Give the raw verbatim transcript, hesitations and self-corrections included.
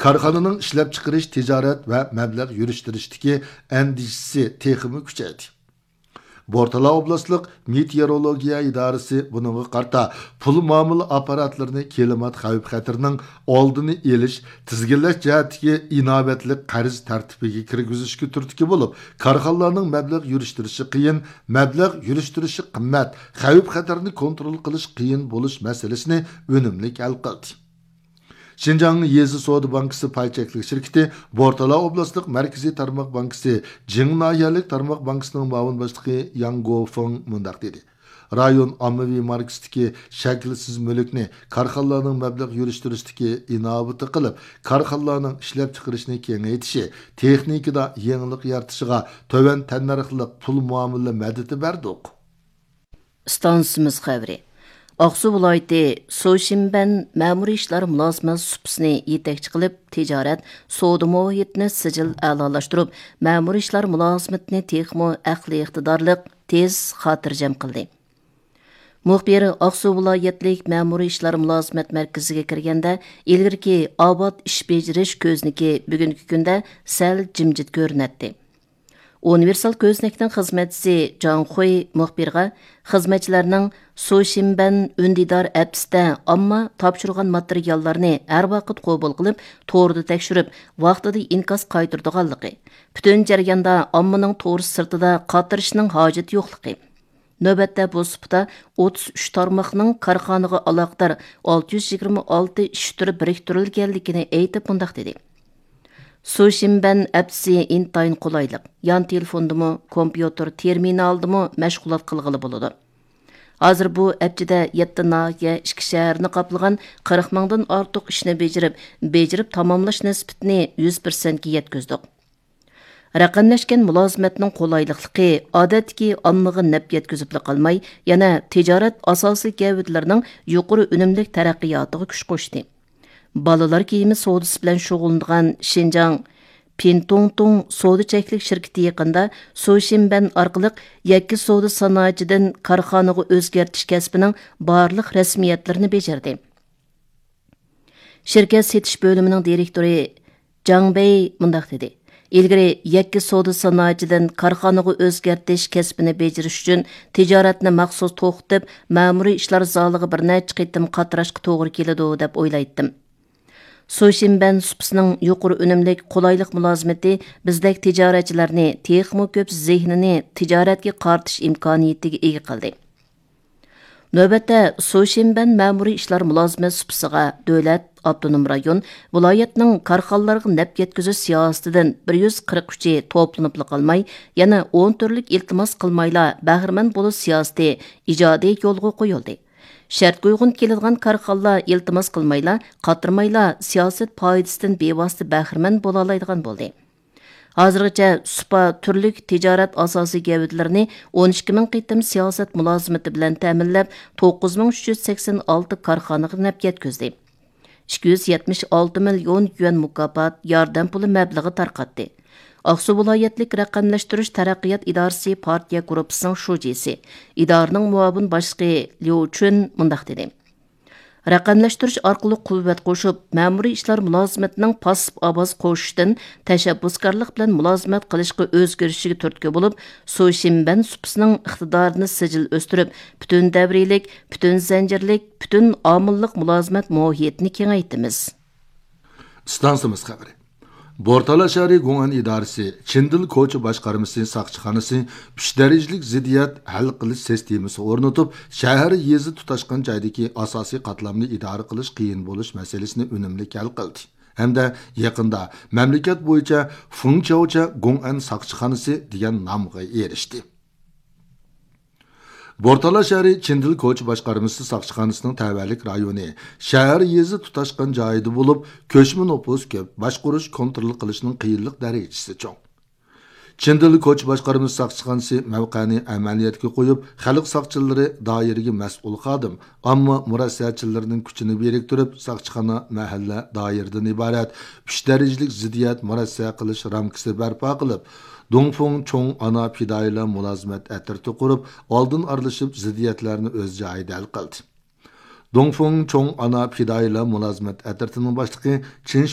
كارخانىنىڭ ئىشلەپچىقىرىش، تىجارەت ۋە مەبلەغ يۈرۈشتۈرۈشتىكى ئەندىشىسى تېخىمۇ كۈچەيدى. بورتالا ئوبلاستلىق مېتېئورولوگىيە ئىدارىسى بۇنىڭغا قارىتا پۇل مۇئامىلە ئاپپاراتلىرىنى كىلىمات خەۋپ-خەتىرىنىڭ ئالدىنى ئېلىش، تىزگىنلەش جەھەتتىكى ئىناۋەتلىك قەرز تەرتىپىگە كىرگۈزۈشكە تۈرتكە بولۇپ، كارخانىلارنىڭ مەبلەغ يۈرۈشتۈرۈشى قىيىن، مەبلەغ يۈرۈشتۈرۈشى قىممەت، خەۋپ-خەتەرنى كونترول قىلىش قىيىن بولۇش مەسىلىسىنى ئۈنۈملۈك ھەل قىلدى. شىنجاڭ يېزا سودا بانكىسى پاي چەكلىك شىركىتى بورتالا ئوبلاستلىق مەركىزىي تارماق بانكىسى جىڭ ناھىيەلىك تارماق بانكىسىنىڭ مۇئاۋىن باشلىقى ياڭ گوفېڭ مۇنداق دېدى: رايون ئاممىۋى ماركىسىدىكى شەكىلسىز مۈلۈكنى كارخانىلارنىڭ مەبلەغ يۈرۈشتۈرۈشتىكى ئىناۋىتى قىلىپ، كارخانىلارنىڭ ئىشلەپچىقىرىشنى كېڭەيتىشى، تېخنىكىدا يېڭىلىق يارىتىشىغا تۆۋەن تەننەرخلىق پۇل مۇئامىلە مەدىتى بەردۇق. ئىستانسىمىز خەۋىرى. ئاقسۇ ۋىلايىتى سۇشىنبەن مەمۇرىي ئىشلار مۇلازىمەت سۇپىسىنى يېتەكچى قىلىپ، تىجارەت، سودا مۇھىتىنى سىجىل ئەلالاشتۇرۇپ، مەمۇرىي ئىشلار مۇلازىمىتىنى تېخىمۇ ئەقلىي ئىقتىدارلىق، تېز، خاتىرجەم قىلدى. مۇخبىر ئاقسۇ ۋىلايەتلىك مەمۇرىي ئىشلار مۇلازىمەت مەركىزىگە كىرگەندە، ئىلگىرىكى ئاۋات ئىش بېجىرىش كۆزنىكى بۈگۈنكى كۈندە سەل جىمجىت كۆرۈنەتتى. ئۇنىۋېرسال كۆزنەكنىڭ خىزمەتچىسى جاڭ خۇي مۇخبىرغا خىزمەتچىلەرنىڭ سۇشىنبەن ئۈندىدار ئەپسىدە ئامما تاپشۇرغان ماتېرىياللارنى ھەر ۋاقىت قوبۇل قىلىپ، توردا تەكشۈرۈپ، ۋاقتىدا ئىنكاس قايتۇرىدىغانلىقى، پۈتۈن جەرياندا ئاممىنىڭ تور سىرتىدا قاترىشىشنىڭ ھاجىتى يوقلۇقى، نۆۋەتتە بۇ سۇپىدا ئوتتۇز ئۈچ تارماقنىڭ كارخانىغا ئالاقىدار ئالتە يۈز يىگىرمە ئالتە ئىش تۈرى بىرىكتۈرۈلگەنلىكىنى ئېيتىپ مۇنداق دېدى: سۇشىنبەن ئەپسى ئىنتايىن قولايلىق، يان تېلېفوندىمۇ، كومپيۇتېر تېرمىنالدىمۇ مەشغۇلات قىلغىلى بولىدۇ. ھازىر بۇ ئەپچىدە يەتتە ناھىيە، ئىككى شەھەرنى قاپلىغان قىرىق مىڭدىن ئارتۇق ئىشنى بېجىرىپ، بېجىرىپ تاماملاش نىسبىتىنى يۈز پىرسەنتكە يەتكۈزدۇق. رەقەملەشكەن مۇلازىمەتنىڭ قولايلىقلىقى ئادەتتىكى ئاممىغا نەپ يەتكۈزۈپلا قالماي، يەنە تىجارەت ئاساسىي گەۋدىلىرىنىڭ يۇقىرى ئۈنۈملۈك تەرەققىياتىغا كۈچ قوشتى. بالىلار كىيىمى سودىسى بىلەن شۇغۇللىنىدىغان شىنجاڭ پىنتۇڭتۇڭ سودا چەكلىك شىركىتى يېقىندا سۇشىنبەن ئارقىلىق يەككە سودا سانائىتىدىن كارخانىغا ئۆزگەرتىش كەسپىنىڭ بارلىق رەسمىيەتلىرىنى بېجىردى. شىركەت سېتىش بۆلۈمىنىڭ دىرېكتورى جاڭ بېي مۇنداق دېدى: ئىلگىرى يەككە سودا سانائىتىدىن كارخانىغا ئۆزگەرتىش كەسپىنى بېجىرىش ئۈچۈن تىجارەتنى مەخسۇس توختىتىپ، مەمۇرىي ئىشلار زالىغا بىر نەچچە قېتىم قاتراشقا توغرا كېلىدۇ، دەپ ئويلايتتىم. سۇشىنبەن سۇپىسىنىڭ يۇقىرى ئۈنۈملۈك، قولايلىق مۇلازىمىتى بىزدەك تىجارەتچىلەرنى تېخىمۇ كۆپ زېھنىنى تىجارەتكە قارىتىش ئىمكانىيىتىگە ئىگە قىلدى. نۆۋەتتە، سۇشىنبەن مەمۇرىي ئىشلار مۇلازىمەت سۇپىسىغا دۆلەت، ئاپتونوم رايون، ۋىلايەتنىڭ كارخانىلارغا نەپ يەتكۈزۈش سىياسىتىدىن بىر يۈز قىرىق ئۈچى توپلىنىپلا قالماي، يەنە ئون تۈرلۈك ئىلتىماس قىلمايلا بەھرىمەن بولۇش سىياسىتى ئىجادىي يولغا قويۇلدى. شەرتكە ئۇيغۇن كېلىدىغان كارخانىلار ئىلتىماس قىلمايلا، قاترىمايلا سىياسەت پايدىسىدىن بىۋاسىتە بەھرىمەن بولالايدىغان بولدى. ھازىرغىچە سۇپا تۈرلۈك تىجارەت ئاساسىي گەۋدىلىرىنى ئون ئىككى مىڭ قېتىم سىياسەت مۇلازىمىتى بىلەن تەمىنلەپ، توققۇز مىڭ ئۈچ يۈز سەكسەن ئالتە كارخانىغا نەپ يەتكۈزدى. ئىككى يۈز يەتمىش ئالتە مىليون يۈەن مۇكاپات، ياردەم پۇلى مەبلىغى تارقاتتى. ئاقسۇ ۋىلايەتلىك رەقەملەشتۈرۈش تەرەققىيات ئىدارىسى پارتىيە گۇرۇپپىسىنىڭ شۇجىسى، ئىدارىنىڭ مۇئاۋىن باشلىقى ليۇ چۈن مۇنداق دېدى: رەقەملەشتۈرۈش ئارقىلىق قۇۋۋەت قوشۇپ، مەمۇرىي ئىشلار مۇلازىمىتىنىڭ پاسسىپ ئاۋاز قوشۇشتىن تەشەببۇسكارلىق بىلەن مۇلازىمەت قىلىشقا ئۆزگىرىشىگە تۈرتكە بولۇپ، سۇشىنبەن سۇپىسىنىڭ ئىقتىدارىنى سىجىل ئۆستۈرۈپ، پۈتۈن دەۋرىيلىك، پۈتۈن زەنجىرلىك، پۈتۈن ئامىللىق مۇلازىمەت مۇھىتىنى كېڭەيتىمىز. ئىستانسىمىز خەۋىرى. بورتالا شەھىرى گوڭئەن ئىدارىسى چىندىل كوچا باشقارمىسى ساقچىخانىسى ئۈچ دەرىجىلىك زىددىيەت ھەل قىلىش سىستېمىسى ئورنىتىپ، شەھەر يېزا تۇتاشقان جايدىكى ئاساسىي قاتلامنى ئىدارە قىلىش قىيىن بولۇش مەسىلىسىنى ئۈنۈملۈك ھەل قىلدى ھەمدە يېقىندا مەملىكەت بويىچە فېڭچياۋچە گوڭئەن ساقچىخانىسى دېگەن نامغا ئېرىشتى. بورتالا شەھىرى چىندىل كوچا باشقارمىسى ساقچىخانىسىنىڭ تەۋەلىك رايونى شەھەر يېزا تۇتاشقان جايىدا بولۇپ، كۆچمە نوپۇس كۆپ، باشقۇرۇش، كونترول قىلىشنىڭ قىيىنلىق دەرىجىسى چوڭ. چىندىل كوچا باشقارمىسى ساقچىخانىسى مەۋقەنى ئەمەلىيەتكە قويۇپ، خەلق ساقچىلىرى دائىرىگە مەسئۇل خادىم، ئامما مۇرەسسەچىلىرىنىڭ كۈچىنى بىرىكتۈرۈپ، ساقچىخانا مەھەللە دائىرىدىن ئىبارەت ئۈچ دەرىجىلىك زىددىيەت مۇرەسسە قىلىش رامكىسى بەرپا قىلىپ، دۇڭفېڭ چوڭ ئانا پىدائىيلار مۇلازىمەت ئەترىتى قۇرۇپ، ئالدىن ئارىلىشىپ زىددىيەتلەرنى ئۆز جايىدا ھەل قىلدى. دۇڭفېڭ چوڭ ئانا پىدائىيلار مۇلازىمەت ئەترىتىنىڭ باشلىقى چىن